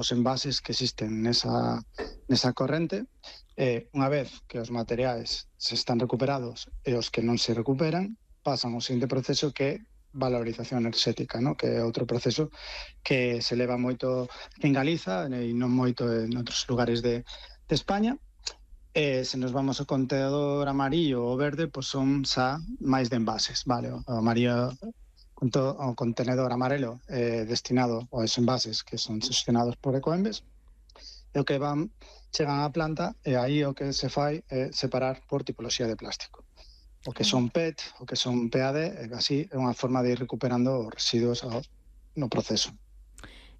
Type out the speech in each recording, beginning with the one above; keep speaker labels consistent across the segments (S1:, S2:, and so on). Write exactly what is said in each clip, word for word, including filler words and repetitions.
S1: os envases que existen nesa, nesa corrente. E unha vez que os materiais se están recuperados e os que non se recuperan, pasan ao seguinte proceso que é valorización enerxética, no? Que é outro proceso que se leva moito en Galiza e non moito en outros lugares de, de España. E se nos vamos ao contenedor amarillo ou verde, pois son xa máis de envases, vale? O amarillo, o contenedor amarelo é destinado aos envases que son xestionados por Ecoembes, e o que van, chegan á planta, e aí o que se fai é separar por tipoloxía de plástico. O que son P E T, o que son P A D, e así é unha forma de ir recuperando os residuos ao, no proceso.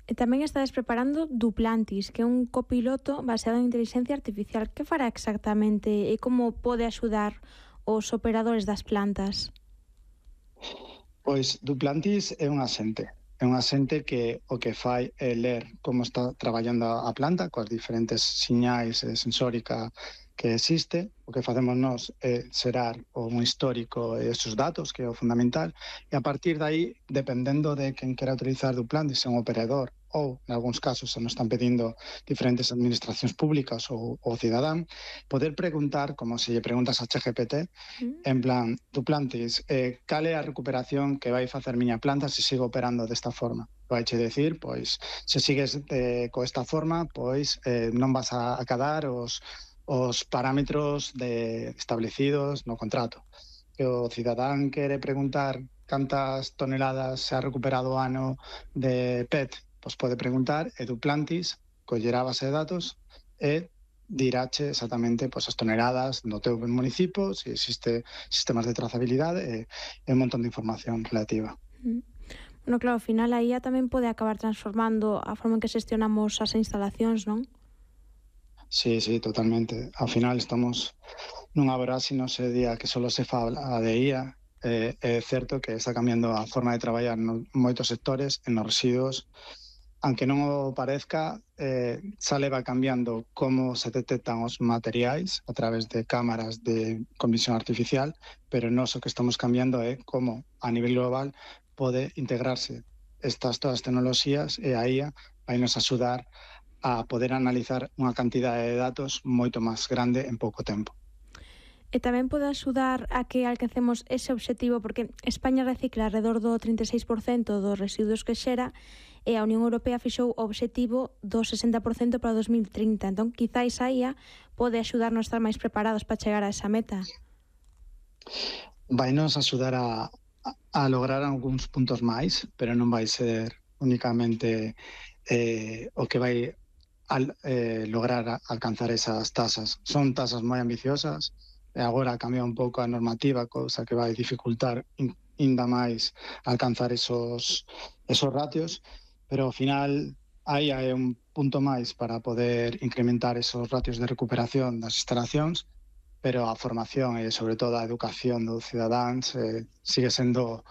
S2: E tamén estades preparando Duplantis, que é un copiloto baseado en inteligencia artificial. Que fará exactamente e como pode axudar os operadores das plantas?
S1: Pois Duplantis é un asente. É un asente que o que fai é ler como está traballando a planta, coas diferentes siñais e sensórica que existe. O que facemos nós é xerar un histórico e esos datos, que é o fundamental, e a partir de aí, dependendo de quen quera utilizar Duplantis, se un operador ou, en algúns casos, se nos están pedindo diferentes administracións públicas ou o cidadán, poder preguntar, como se lle preguntas a ChatGPT, mm. en plan, Duplantis, eh, cal é a recuperación que vai facer miña planta se sigo operando desta forma? Vai che decir, pois, se sigues eh, co esta forma, pois eh, non vas a acadar os os parámetros de establecidos no contrato. Que o cidadán quere preguntar cantas toneladas se ha recuperado o ano de P E T, pois pode preguntar, e Duplantis collerá a base de datos e diráche exactamente pois, as toneladas no teu municipio, se existe sistemas de trazabilidade e, e un montón de información relativa.
S2: Mm. Bueno, claro, ao final a I A tamén pode acabar transformando a forma en que xestionamos as instalacións, non?
S1: Sí, sí, totalmente. Ao final estamos nunha voráxine ese día que só se fala de I A. Eh, é certo que está cambiando a forma de traballar en moitos sectores, en os residuos. Aunque non o parezca, eh, xa leva cambiando como se detectan os materiais a través de cámaras de con visión artificial, pero nós o que estamos cambiando é como a nivel global pode integrarse estas todas as tecnoloxías e a I A vai nos axudar a poder analizar unha cantidade de datos moito máis grande en pouco tempo.
S2: E tamén pode axudar a que alcancemos ese obxectivo, porque España recicla alrededor do trinta e seis por cento dos residuos que xera e a Unión Europea fixou o obxectivo do sesenta por cento para o dos mil trinta. Entón, quizáis a I A pode axudarnos a estar máis preparados para chegar a esa meta.
S1: Vai nos axudar a, a lograr algúns puntos máis, pero non vai ser únicamente eh, o que vai al eh, lograr alcanzar esas tasas. Son tasas moi ambiciosas, e agora cambia un pouco a normativa, cousa que vai dificultar ainda máis alcanzar esos, esos ratios, pero ao final aí é un punto máis para poder incrementar esos ratios de recuperación das instalacións, pero a formación e, sobre todo, a educación dos cidadáns eh, sigue sendo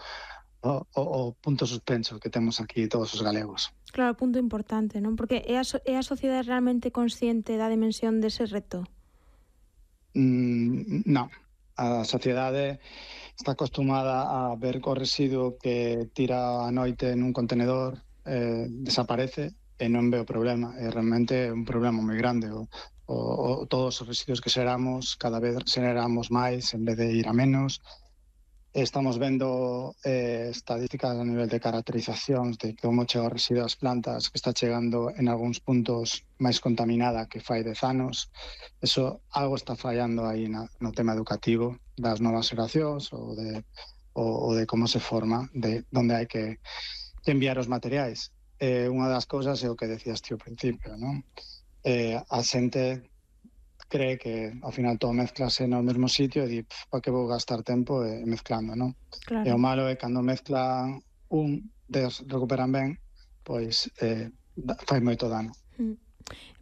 S1: o, o, o punto suspenso que temos aquí todos os galegos.
S2: Claro, punto importante, non? Porque é a, so é a sociedade realmente consciente da dimensión dese reto?
S1: Mm, non. A sociedade está acostumada a ver co residuo que tira a noite nun contenedor, eh, desaparece e non ve o problema. É realmente un problema moi grande. O, o, o, todos os residuos que xeramos, cada vez xeramos máis en vez de ir a menos. Estamos vendo eh, estadísticas a nivel de caracterizacións de como chega o residuo ás plantas, que está chegando en algúns puntos máis contaminada que fai dez anos. Eso, algo está fallando aí na, no tema educativo das novas xeracións ou de, ou, ou de como se forma, de onde hai que, que enviar os materiais. Eh, unha das cousas é o que decías ti ao principio, non? Eh, a xente cree que ao final todo mezclase no mesmo sitio e di, para que vou gastar tempo eh, mezclando, non?
S2: Claro.
S1: E o malo é cando mezclan un, des recuperan ben, pois eh, fai moito dano.
S2: Mm.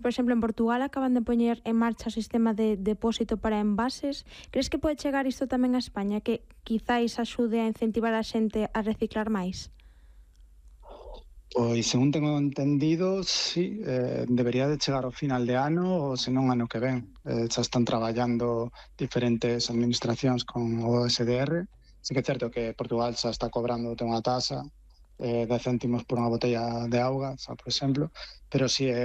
S2: Por exemplo, en Portugal acaban de poñer en marcha o sistema de depósito para envases. Crees que pode chegar isto tamén a España, que quizáis axude a incentivar a xente a reciclar máis?
S1: Pois, según tengo entendido, sí, eh, debería de chegar ao final de ano ou senón ano que ven. Eh, xa están traballando diferentes administracións con o S D R. Sí que é certo que Portugal xa está cobrando unha tasa eh, de céntimos por unha botella de auga, xa, por exemplo, pero sí é